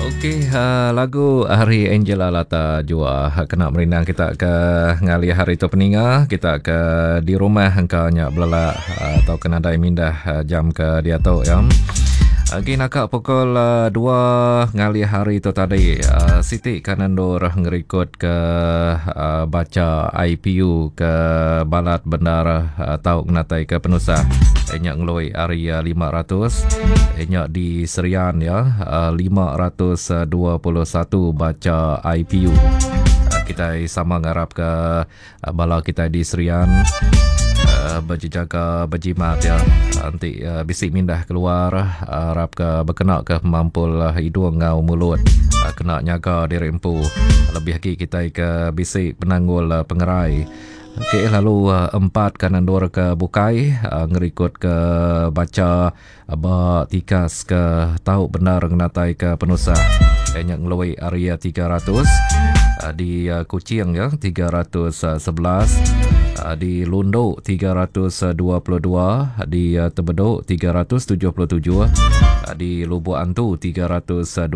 Okey, uh, lagu hari Angela Lata Jua kena merindang kita ke ngalih hari tu peninga kita ke di rumah engka nya belelak eh, atau ke nadai mindah eh, jam ke diatu ya. Agi naka pukul 2 ngalih hari tu tadi siti ka nendur ngerikod ke bacha IPU ke balat bendar tau ngenatai ke penusah nya ngelui ari 500 nya di Serian ya 521 bacha IPU. Kitai sama ngarap ke Bala kitai di Serian bejejaga bejimat ya enti bisi mindah keluar arap ke bekena ke mampul hidung enggau mulut kena nyaga diri empu lebih agi kitai ke bisi penanggul pengerai. Okey lalu empat ke endur ke bukai ngerikut ke bacha ba tikas ke tau bendar ngenatai ke penusah iya nya ngelui ari 300 di Kuching ya 311 di Lundu 322 di Tebedu 377 di Lubok Antu 329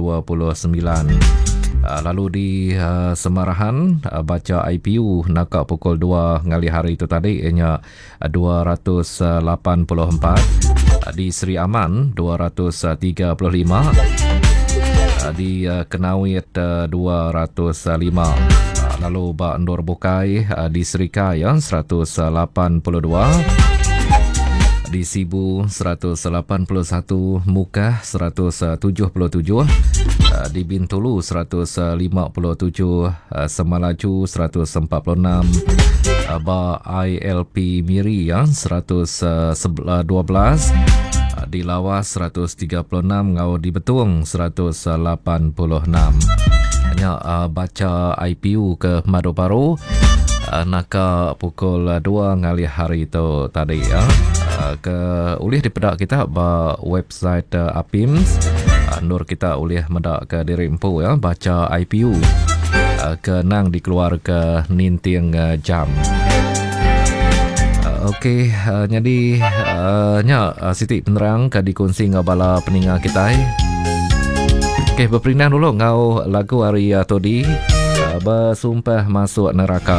lalu di Semarahan bacha IPU naka pukul 2 ngalih hari tu tadi iya nya 284 di Sri Aman 235 di Kenawit 205 lalu ba endur bukai di Serikai 182 di Sibu 181 Mukah 177 di Bintulu 157 Semalaju 146 ba ILP Miri ya 112 di Lawas 136 enggau di Betong 186. Nya bacha IPU ke Madu Baru naka pukul 2 ngalih hari tu tadi ya. Ke ulih dipeda kita ba website APIMS endur kita ulih meda ke diri empu ya bacha IPU ke nang dikeluar ke ninting jam. Okey nyadi nya siti penerang ke dikunsi enggau bala peninga kitai. Okey beperindang dulu enggau lagu ari Todi Besumpah Masuk Neraka.